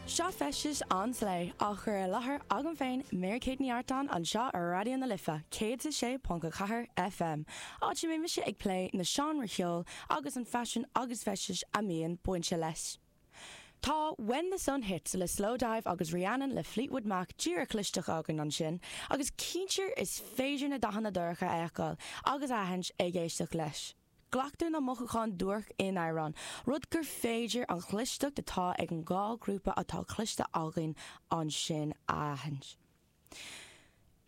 Seo Feisteas an Slé, á chur i láthair agam féin, Mary Kate Ní Artáin, anseo ar Raidió na Life 106.4 FM, áit a mbíonn mise ag plé na seánra cheoil agus an faisean agus feistis a mbíonn bainte leis. Tá When the Sun Hits le Slowdive agus Rhiannon le Fleetwood Mac díreach cloiste againn ansin, agus cinnte is féidir na dathanna dorcha a fheiceáil agus a aithint ag éisteacht leis. Glactar na mothúcháin duairc in amhrán, rud gur féidir an chlisteacht atá ag an dhá ghrúpa atá cloiste againn ansin a aithint.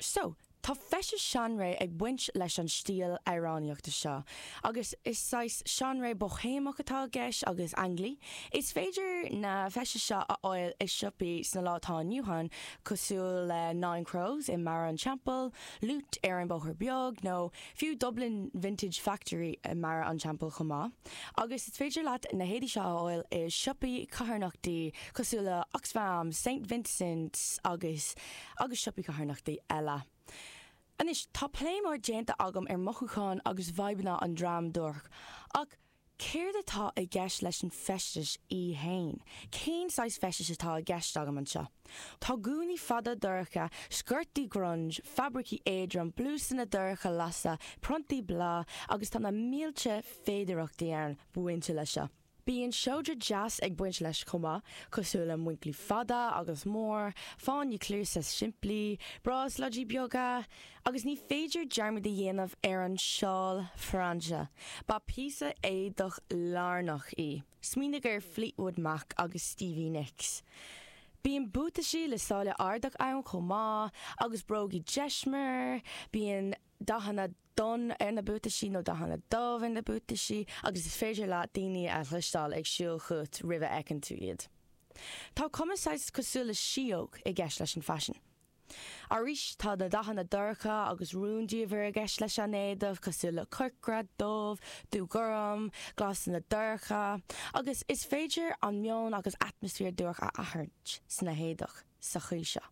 So, tá feisteas seanré ag baint leis an stíl amhránaíochta seo, agus is saghas seanré boihéamach atá i gceist agus ainglí. Is féidir na feistis seo a fháil i siopaí sna lá atá inniu ann, cosúil le Nine Crows i mBarra an Teampaill, Loot ar an Bóthar Beag, nó fiú Dublin Vintage Factory i mBarra an Teampaill chomh maith. Agus is féidir leat na héadaí seo a fháil i siopaí carthanachtaí cosúil le Oxfam, St Vincent's agus agus siopaí carthanachtaí eile. Anois, tá plé mór déanta agam ar mothúcháin agus vibeanna an dream duairc, ach céard atá i gceist leis an feisteas í fhéin? Cén saghas feistis atá i gceist agam anseo? Tá gúnaí fada dorcha, sciortaí grunge, fabraicí éadrom, blúsanna dorcha lasa, priontaí bláth agus tá na mílte féidireachtaí ann bainte leis seo. Bíonn seodra deas ag baint leis chomh maith, cosúil le muincillí fada agus mór, fáinní cluasa simplí, bráslóidí beaga, agus ní féidir dearmad a dhéanamh ar an seál frainse. Ba píosa éadach lárnach í. Smaoinigh ar Fleetwood Mac agus Stevie Nicks. Bíonn buataisí le sáile ardach ann chomh maith, agus brógaí deismir, bíonn dathanna donn ar na buataisí nó dathanna dubh ar na buataisí agus is féidir leat daoine a chloisteáil ag siúl chugat roimh a fheiceann tú iad. Tá cuma saghas cosúil le síóg i gceist leis an faisean. Arís tá na dathanna dorcha agus rúndiamhair i gceist leis an éadach, cosúil le corcra, dubh, dúghorm, glasanna dorcha, agus is féidir an meon agus atmaisféar duairc a aithint sna héadach sa chaoi seo.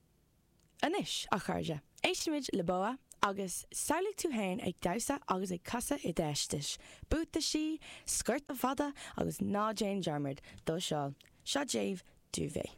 Anois, a chairde, éistfimid le BoA agus samhlaigh tú féin ag damhsa agus ag casadh i d'fheisteas, buataisí, sciorta fada agus ná déan dearmad do seál. Seo daoibh Duvet.